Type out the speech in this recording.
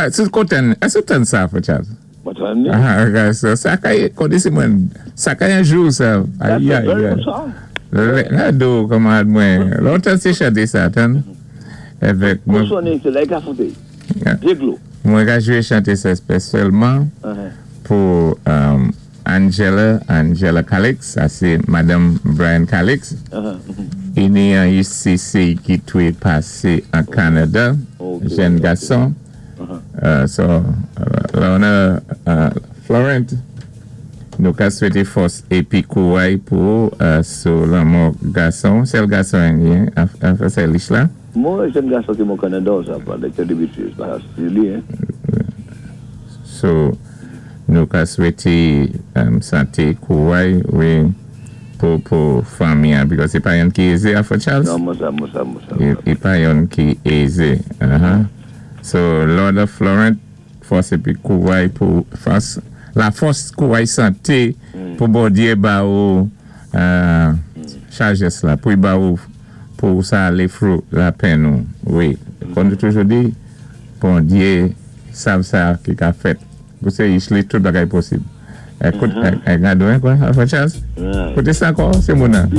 Sou kontan, èské ou tann sa, Frè Charles? Mwen tann ni. Ah, okay, so sa kay, kondi si mwen, sa kay an jou sa. That's Ay, a ay, very ay. good song. La do, kamarad mwen, lontan sé chanté sa, tann? Avèk Mwen mwen, sonnen sé la ka fouté. Déglo. Mwen ka jwé chanté sa espesyalman pou Angela Calix, sa sé Madame Brian Calix, i ni an UCC ki toué pasé an Kanada, jenn gason. So, Lorna Florent, nou ka swété fòs épi kouway pou sou lanmò gason, sèl gason an, an fransé lich la. Mwen, jenn gason ki mò Kanada, sa pa de kè débiti, pa si li, hein. So, nou ka swété santé, kouway, wi, pou fanmi, an, because sé pa youn ki ézé, a Frè Charles? Non, mwen sa, mwen sa, mwen sa. I pa youn ki ézé. So, Lorna Florent, fòs épi kouway pou fòs, la fòs kouway santé pou Bondyé ba ou sajès la, pou ba ou pou sa alé through la penn nou. Wi, kon nou toujou di, Bondyé sav sa ki ka fèt. Pou sé li tout bagay posib. Ékout, gado, hein, kwa, Frè Charles? Right. Kouté sa ankò, sé moun nan.